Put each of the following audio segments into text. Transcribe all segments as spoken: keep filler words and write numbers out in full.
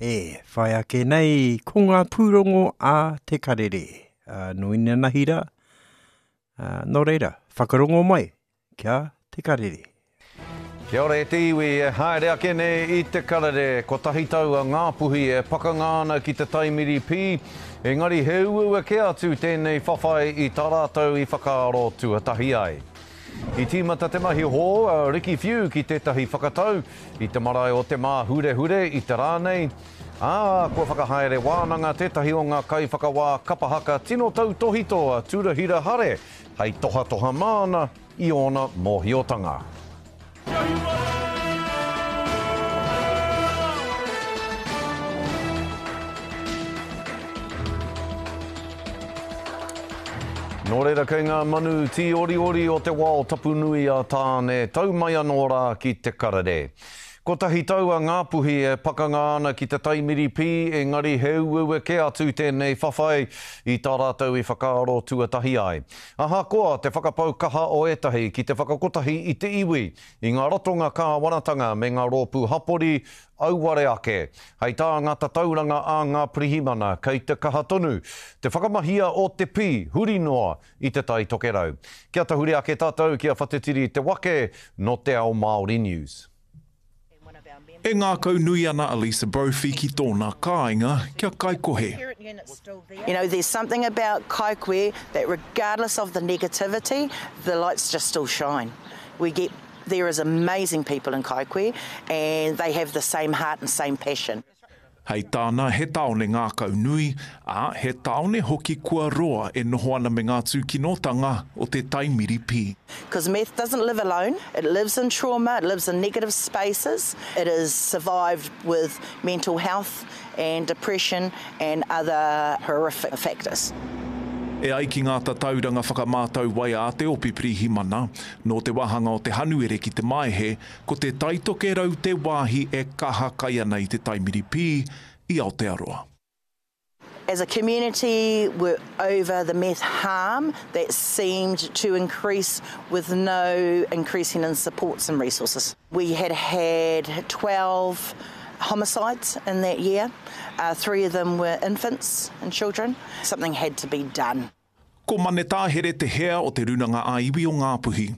E whai ake nei ko ngā pūrongo a Te Karere. Uh, nō inanahi rā. Uh, nō reira, whakarongo mai kia Te Karere. Kia ora e te iwi e haere ake nei i Te Karere. Kotahi tau a Ngāpuhi e pakanga ana ki te taimiri pī, engari he uaua kē atu tēnei whawhai i tā rātou i whakaaro tuatahi ai. I tīmata te mahi hou a Ricky Whiu ki tētahi whakatau i te marae o Te Māhurehure i te rā nei, ā, kua whakahaere wānanga tētahi o ngā kaiwhakawā kapa haka tino tautōhito a Turahira Hare hei tohatoha māna i ōna mōhiotanga. Nō reira kei ngā manu tīoriori o te wao tapu nui a Tāne, tau mai anō rā ki Te Karere. Kotahi tau a Ngāpuhi e pakanga ana ki te taimiri pī, engari he uaua kē atu tēnei whawhai i tā rātou i whakaaro tuatahi ai. Ahakoa te whakapau kaha o ētahi ki te whakakotahi i te iwi, i ngā ratonga kāwanatanga me ngā rōpū hapori, auare ake. Hei tā ngā tatauranga a ngā pirihimana, kei te kaha tonu te whakamahia o te pī huri noa i Te Tai Tokerau. Kia tahuri ake tātou ki a Whatetiri Te Wake nō Te Ao Māori News. E ngākau nui ana a Lisa Brophy ki tōna kāinga, kia Kaikohe. You know, there's something about Kaikohe that regardless of the negativity, the lights just still shine. We get, there is amazing people in Kaikohe and they have the same heart and same passion. Hei tāna, he tāone ngākau nui, ā, he tāone hoki kua roa e noho ana me ngā tūkinotanga o te taimiri pī. Because meth doesn't live alone, it lives in trauma, it lives in negative spaces, it is survived with mental health and depression and other horrific factors. E ai ki ngā tatauranga whakamātau wai a te Ope Pirihimana, nō te wāhanga o te Hanuere ki te Maehe, ko Te Tai Tokerau te wāhi e kaha kai ana i te taimiri pī i Aotearoa. As a community, we're over the meth harm that seemed to increase with no increasing in supports and resources. We had had twelve homicides in that year. Uh, three of them were infants and children. Something had to be done. Ko Mane Tāhere te hea o te Rūnanga ā-Iwi o Ngāpuhi.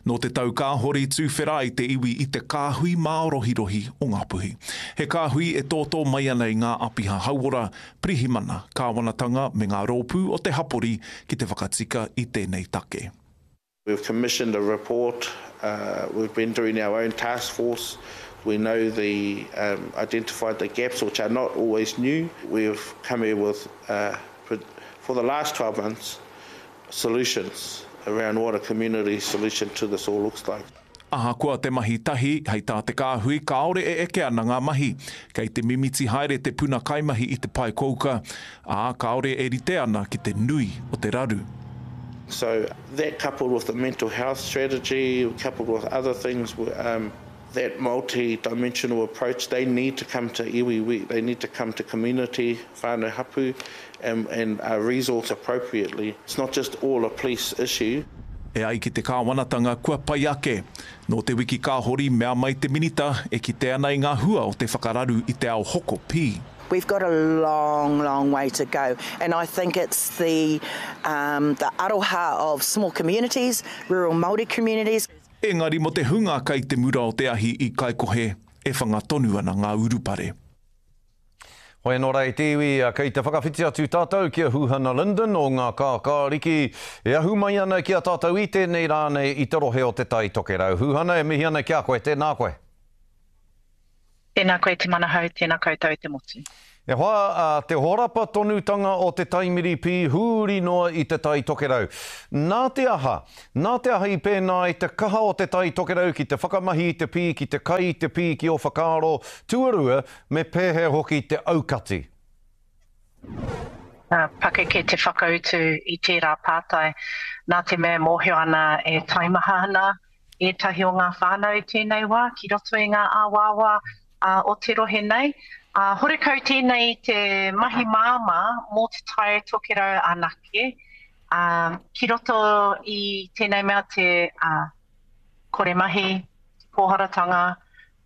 Nō te tau kāhore i tuwhera ai te iwi i te kāhui mārohirohi o Ngāpuhi. He kāhui e tōtō mai ana i ngā āpiha hauora, pirihimana, kāwanatanga me ngā rōpū o te hapori ki te whakatika i tēnei take. We've commissioned a report, uh, we've been doing our own task force, we know the, um, identified the gaps which are not always new. We've come here with, uh, for the last twelve months, solutions around what a community solution to this all looks like. Ahakoa te mahi tahi, hei tā te kāhui, kāore e eke ana ngā mahi. Kei te mimiti haere te puna kaimahi i te pae kouka, ā, kāore e rite ana ki te nui o te raru. So that coupled with the mental health strategy, coupled with other things, um, that multi-dimensional approach, they need to come to iwi, they need to come to community, whānau hapu, and, and uh, resource appropriately. It's not just all a police issue. E ai ki te kāwanatanga kua pai ake. Nō te wiki ka hori mea mai te minita e kite ana i ngā hua o te whakararu i te ao hoko pī. We've got a long, long way to go, and I think it's the, um, the aroha of small communities, rural Māori communities. Engari mo te hunga kei te mura o te ahi i Kaikohe, e whanga tonu ana ngā urupare. Hoi anō rā e te iwi, kei te whakawhiti atu tātou ki a Huhana Lyndon o ngā Kākāriki e ahu mai ana ki a tātou i tēnei rā nei i te rohe o Te Tai Tokerau. Huhana, e mihi ana ki a koe, tēnā koe. Tēnā koe Te Manahau, tēnā koutou te motu. E hoa, te horapa tonutanga o te taimiri pī huri noa i Te Tai Tokerau. Nā te aha? Nā te aha i pēnā ai te kaha o Te Tai Tokerau ki te whakamahi i te pī, ki te kai i te pī ki ō whakaaro, tuarua, me pēhea hoki te aukati? Pakeke te whakautu i tērā pātai, nā te mea e mōhio ana e taimaha ana ētahi o ngā whānau i tēnei wā ki roto i ngā āwāwā o te rohe nei. Horekau tēnei i te mahi māmā mō Te Tai Tokerau anake, ki roto i tēnei mea te kore mahi, te pōharatanga,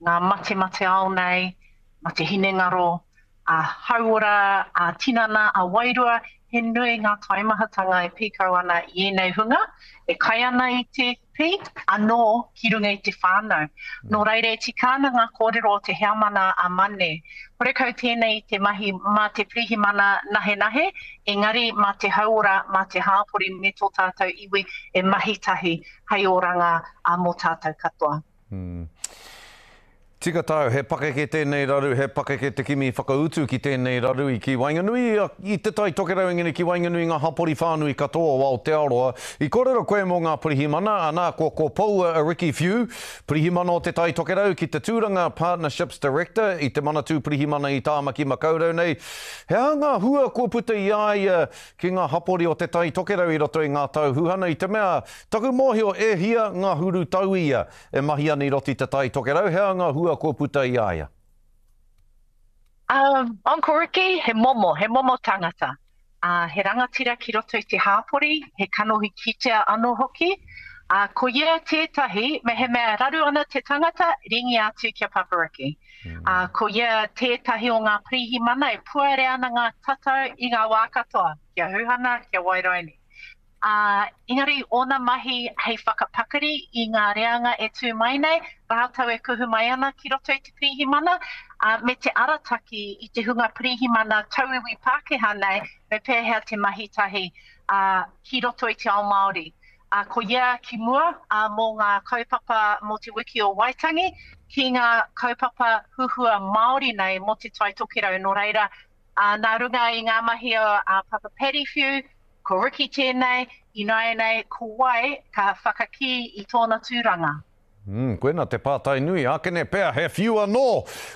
ngā matemate ao nei, mate hinengaro, ā-hauora, ā-tinana, ā-wairua, he nui ngā taimahatanga e pīkau ana i ēnei hunga, e kai ana i te pī, anō ki runga i te whānau. Nō reira e tika ana ngā kōrero o te heamana a Mane. Horekau tēnei i te mahi mā te pirihimana nahenahe, engari mā te hauora, mā te hāpori me tō tātou iwi e mahi tahi hei oranga mō tātou katoa. Mm. Tika tāu, he pakeke tēnei raru, he pakeke te kimi whakautu ki tēnei raru i ki waenganui i Te Tai Tokerau, engari ki waenganui ngā hapori whānui katoa o Aotearoa. I kōrero koe mō ngā pirihimana, anā, kua ko poua a Ricky Whiu, pirihimana o Te Tai Tokerau ki te tūranga Partnerships Director i te Manatū Pirihimana i Tāmaki Makaurau nei. He aha ngā hua kua puta i a ia ki ngā hapori o Te Tai Tokerau i roto i ngā tau huhana i te mea, taku mōhio e hia ngā huru tau ia e mahi ana i roto i Te Tai Tokerau, he aha ngā hua kua puta i a ia? Um, Uncle Ricky, he momo, he momo tangata. Uh, he rangatira ki roto i te hāpori, he kanohi kitea anō hoki. Uh, ko ia tētahi, me he mea raru ana te tangata, ringi atu kia Papa Ricky. Mm. Uh, ko ia tētahi o ngā pirihimana e puare ana ngā tatau i ngā wā katoa, kia huhana, kia wairaini. Uh, engari ōna mahi hei whakapakari i ngā reanga e tū mai nei, rātou e kuhu mai ana ki roto i te pirihimana, uh, me te arataki i te hunga pirihimana tauiwi Pākehā nei, me pēhea te mahi tahi uh, ki roto i te ao Māori. Uh, ko ia ki mua uh, mō ngā kaupapa mō te wiki o Waitangi, ki ngā kaupapa huhua Māori nei mō te Tai Tokerau. Nō reira, uh, nā runga i ngā mahi o uh, Papa Paddy Whiu, ko Ricky tēnei, ināianei ko wai ka whakakī i tōna tūranga. Mm, koena te pātai nui, ākene pea he whiu anō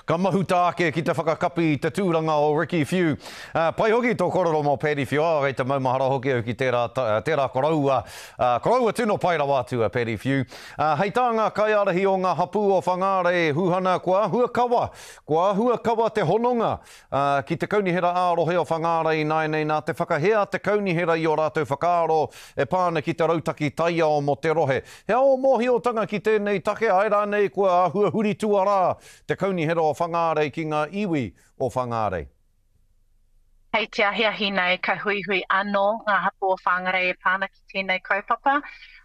ka mahuta ake ki te whakakapi i te tūranga o Ricky Whiu. Uh, pai hoki tō kōrero mō Paddy Whiu, oh, kei te maumahara hoki au ki tērā, tērā koroua, uh, koroua tino pai rawa atu a Paddy Whiu. Uh, hei tā ngā kaiārahi o ngā hapū o Whangārei, Huhana, kua āhua kawa, kua āhua kawa te hononga uh, ki te kaunihera ā-rohe o Whangārei ināianei nā te whakahea te kaunihera i o rātou whakaaro e pā ana ki te rautaki taiao mō te rohe. He ao mōhiotanga ki tēnei take ai rānei kua āhua huri tuarā te kaunihera o Whangārei ki ngā iwi o Whangārei. Hei te ahiahi nei ka huihui anō ngā hapū o Whangārei e pā ana ki tēnei kaupapa.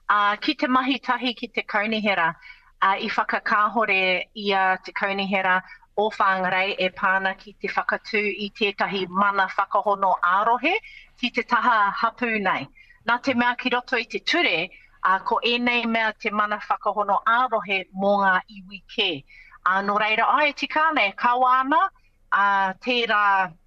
Uh, ki te mahi tahi ki te kaunihera, uh, i whakakāhore i a te kaunihera o Whangārei e pā ana ki te whakatū i tētahi mana whakahono ā-rohe ki te taha hapū nei. Nā te mea ki roto i te ture, Uh, ko ēnei mea te mana whakahono ā-rohe mō ngā iwi kē. Uh, nō reira, ai, tika ana, e kawa ana, uh, tērā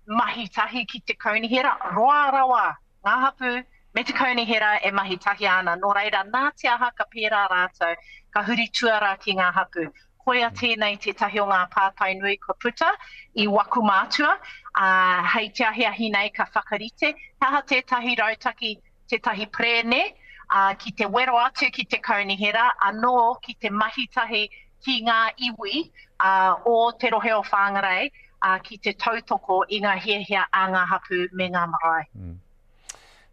mahi tahi ki te kaunihera, roa rawa ngā hapū me te kaunihera e mahi tahi ana. Nō reira, nā te aha ka pērā rātou, ka huri tuarā ki ngā hapū. Koia tēnei tētahi o ngā pātai nui kua puta i waku mātua, uh, hei te ahiahi nei ka whakarite, he aha tētahi rautaki, tētahi prēne, Uh, ki te wero atu ki te kaunihera, anō ki te mahi tahi ki ngā iwi uh, o te rohe o Whangārei uh, ki te tautoko i ngā hiahia a ngā hapū me ngā marae. Mm.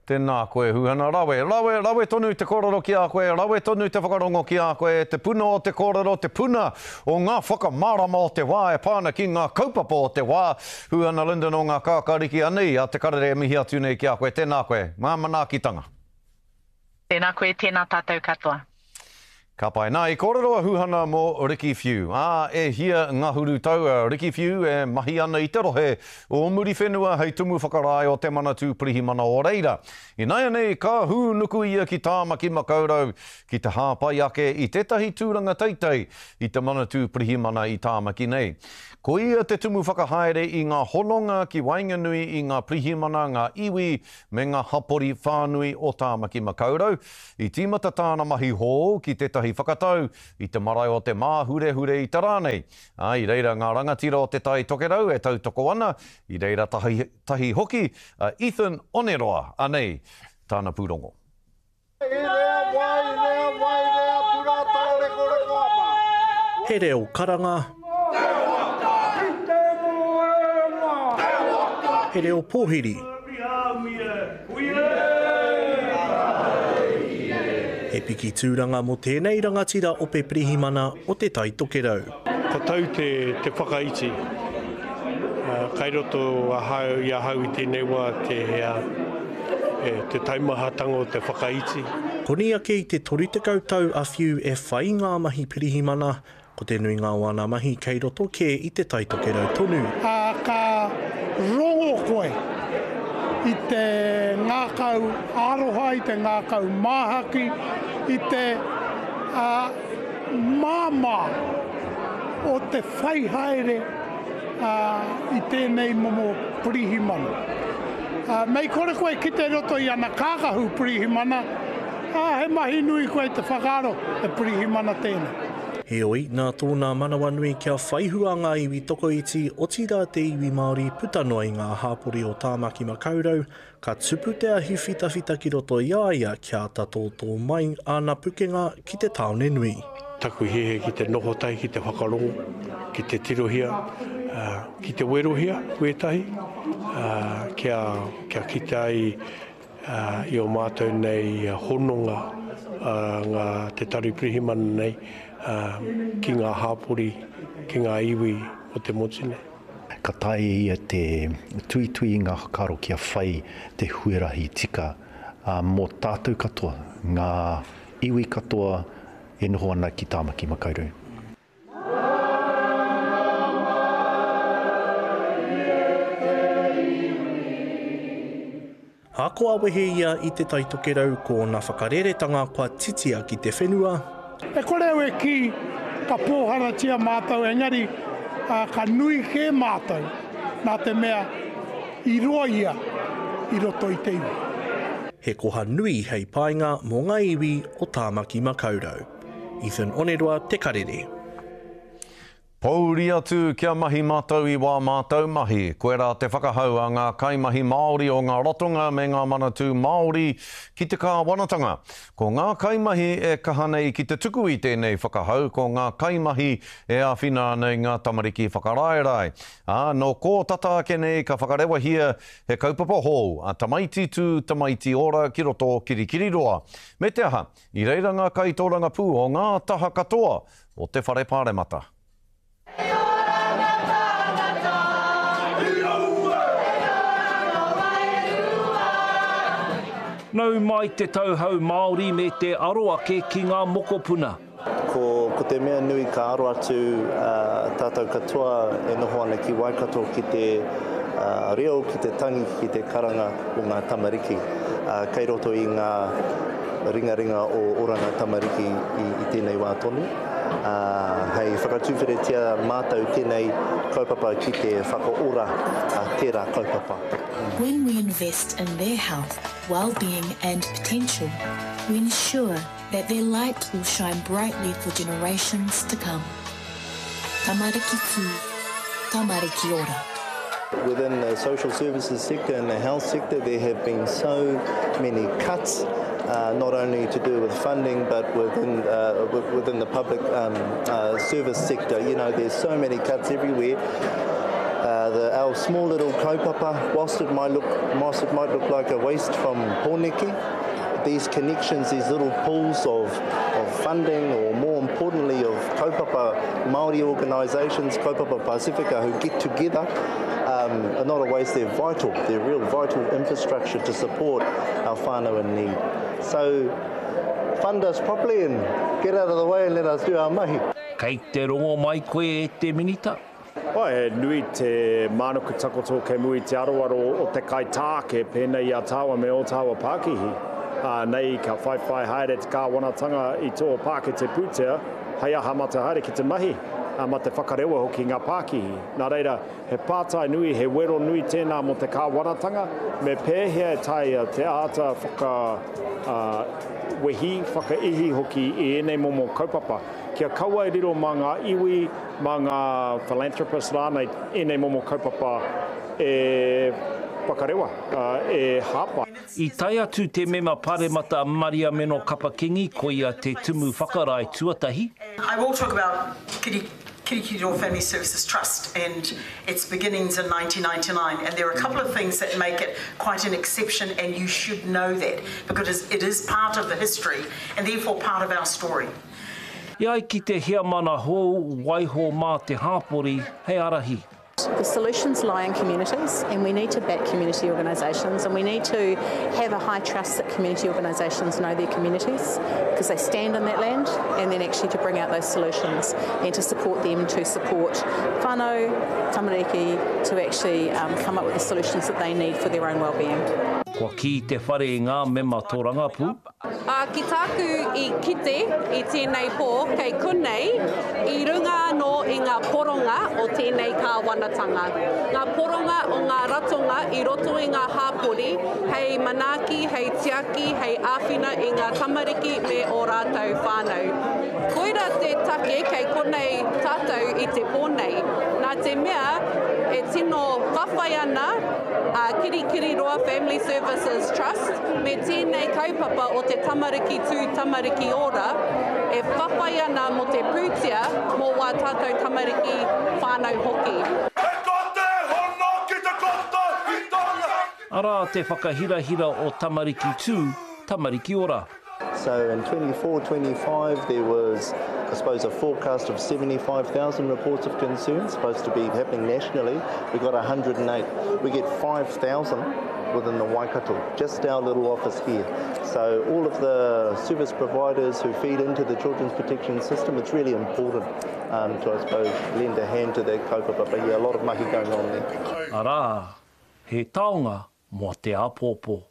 Tēnā koe, Huhana, rawe, rawe, rawe tonu te kōrero ki a koe, rawe tonu te whakarongo ki a koe, te puna o te kōrero, te puna o ngā whakamārama o te wā e pā ana ki ngā kaupapa o te wā. Huhana Lyndon o ngā kākāriki anei a Te Karere e mihi atu nei ki a koe. Tēnā koe, ngā manaakitanga. Tēnā koe, tēnā tātou katoa. Ka pai. Nā, i kōrero a Huhana mō Ricky Whiu. Ā, e hia ngahuru tau a Ricky Whiu e mahi ana i te rohe o Muriwhenua hei tumu whakarae o te Manatū Pirihimana o reira. Ināianei, ka hūnuku ia ki Tāmaki Makaurau ki te hāpai ake i tētahi tūranga teitei i te Manatū Pirihimana i Tāmaki nei. Ko ia te tumu whakahaere i ngā hononga ki waenganui i ngā pirihimana, ngā iwi me ngā hapori whānui o Tāmaki Makaurau. I tīmata tāna mahi hou ki tētahi whakatau i te marae o te Māhurehure i te rā nei. Ā, i reira ngā rangatira o Te Tai Tokerau e tautoko ana, i reira tahi, tahi hoki a Ethan Oneroa, anei tāna pūrongo. He reo karanga, he reo pōhiri, he piki tūranga mō tēnei rangatira ope pirihimana o Te Tai Tokerau. Ka tau te, te whakaiti Kai roto ahau i ahau i tēnei wā te, te taumahatanga o te whakaiti. Koni ake i te toru tekau tau a Whiu e whai ngā mahi pirihimana, ko te nuinga o ana mahi kei roto kē i te Taitokerau tonu. Ā, ka rongo koe i te ngākau aroha, i te ngākau māhaki, i te ā, māmā o te whai haere ā, i tēnei momo pirihimana. Ā, mei kore koe kite roto i ana kākahu pirihimana, ā, he mahi nui koe te whakaaro he pirihimana tēnei. Heoi, nā tōna manawanui kia whaihua ngā iwi tokoiti, otirā te iwi Māori puta noa i ngā hāpori o Tāmaki Makaurau, ka tupu te ahi whitawhita ki roto i a ia kia ata tōtō mai āna pukenga ki te tāone nui. Taku hiahia ki te noho tahi, ki te whakarongo, ki te tirohia, ki te werohia wētahi, kia, kia kite ai i o mātou nei hononga ngā te tari pirihimana nei ki ngā hāpori, ki ngā iwi o te motu nei. Ka taea e ia te tuitui i ngā whakaaro kia whai te huarahi tika mō tātou katoa, ngā iwi katoa e noho ana ki Tāmaki Makaurau. Ahakoa wehe ia i Te Taitokerau ko ōna whakareretanga kua titia ki te whenua. E kore au e kī ka pōharatia mātou engari ka nui kē mātou nā te mea i roa ia i roto i te iwi. He koha nui hei painga mō ngā iwi o Tāmaki Makaurau. Ethan Oneroa, Te Karere. Pouri atu kia mahi mātou i wā mātou mahi. Koirā te whakahau a ngā kaimahi Māori o ngā ratonga me ngā manatū Māori ki te kāwanatanga. Ko ngā kaimahi e kaha nei ki te tuku i tēnei whakahau ko ngā kaimahi e āwhina ana i ngā tamariki whakaraerae. Ā, nō kō tata ake nei ka whakarewahia he kaupapa hou, a Tamaiti Tū, Tamaiti Ora ki roto o Kirikiriroa. Me te aha, i reira ngā kaitōrangapū o ngā taha katoa o te Whare Pāremata. Nau mai te tauhou Māori me te aro ake ki ngā mokopuna. Ko, ko te mea nui ka aro atu tātou katoa e noho ana ki Waikato ki te reo, ki te tangi, ki te karanga o ngā tamariki. Kei roto i ngā ringaringa o Oranga Tamariki i, i tēnei wā tonu. Ā, hei whakatuwheretia mātou tēnei kaupapa ki te whakaora tērā kaupapa. When we invest in their health, well-being and potential, we ensure that their light will shine brightly for generations to come. Tamariki tū, tamariki ora. Within the social services sector and the health sector, there have been so many cuts, uh, not only to do with funding, but within, uh, within the public um, uh, service sector. You know, there's so many cuts everywhere. Uh, the, our small little kaupapa, whilst it might look, whilst it might look like a waste from Pōneke, these connections, these little pools of, of funding, or more importantly of kaupapa Māori organisations, kaupapa Pasifika, who get together, um, are not a waste, they're vital. They're real vital infrastructure to support our whānau in need. So fund us properly and get out of the way and let us do our mahi. Kei te rongo mai koe e te Minita? Oh, he nui te mānuku takoto kei mua i te aroaro o te kaitāke pēnei i a tāua me ō tāua pākihi. Ā, nei ka whaiwhai haere te kāwanatanga i tō pākete pūtea hei aha mā te haere ki te mahi, ā, mā te whakarewa hoki ngā pākihi. Nā reira, he pātai nui, he wero nui tēnā mō te kāwanatanga, me pēhea e taea te āta whaka, ā, wehi, whakaihi hoki i ēnei momo kaupapa, kia kaua e riro mā ngā iwi, mā ngā philanthropists rānei ēnei momo kaupapa e whakarewa, e hāpai. I tae atu te mema paremata Mariameno Kapa-Kingi, koia te tumu whakarae tuatahi. I will talk about Kiri, Kirikiriroa Family Services Trust and its beginnings in nineteen ninety-nine, and there are a couple of things that make it quite an exception, and you should know that because it is part of the history and therefore part of our story. E ai ki te heamana hou, waiho mā te hāpori hei ārahi. The solutions lie in communities, and we need to back community organisations, and we need to have a high trust that community organisations know their communities because they stand on that land, and then actually to bring out those solutions and to support them, to support whānau, tamariki, to actually um, come up with the solutions that they need for their own well-being. Kua kī te whare i ngā mema tōrangapū. Ā, ki tāku i kite i tēnei pō kei konei, i runga anō i ngā poronga o tēnei kāwanatanga. Ngā poronga o ngā ratonga i roto i ngā hāpori hei manaaki, hei tiaki, hei āwhina i ngā tamariki me ō rātou whānau. Koira te take kei konei tātou i te pō nei. Nā te mea e tino whawhai ana a Kirikiriroa Family Services Trust me tēnei kaupapa o te Tamariki Tū Tamariki Ora e whawhai ana mō te pūtea mō wā tātou tamariki whānau hoki. He kote hono ki te kotahitanga. Arā te whakahirahira o Tamariki Tū, Tamariki Ora. So in twenty-four twenty-five there was, I suppose, a forecast of seventy-five thousand reports of concern supposed to be happening nationally. We got a hundred and eight. We get five thousand within the Waikato, just our little office here. So all of the service providers who feed into the children's protection system, it's really important um, to, I suppose, lend a hand to that kaupapa. But yeah, a lot of mahi going on there. Arā, he taonga mō te āpōpō.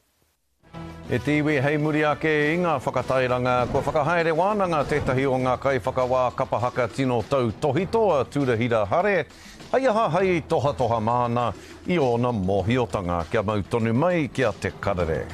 E te iwi hei muri ake i ngā whakatairanga, kua whakahaere wānanga tētahi o ngā kaiwhakawā kapahaka tino tautohito a Tūrahira Hare, hei aha hei tohatoha māna i ōna mōhiotanga kia mau tonu mai ki a Te Karere.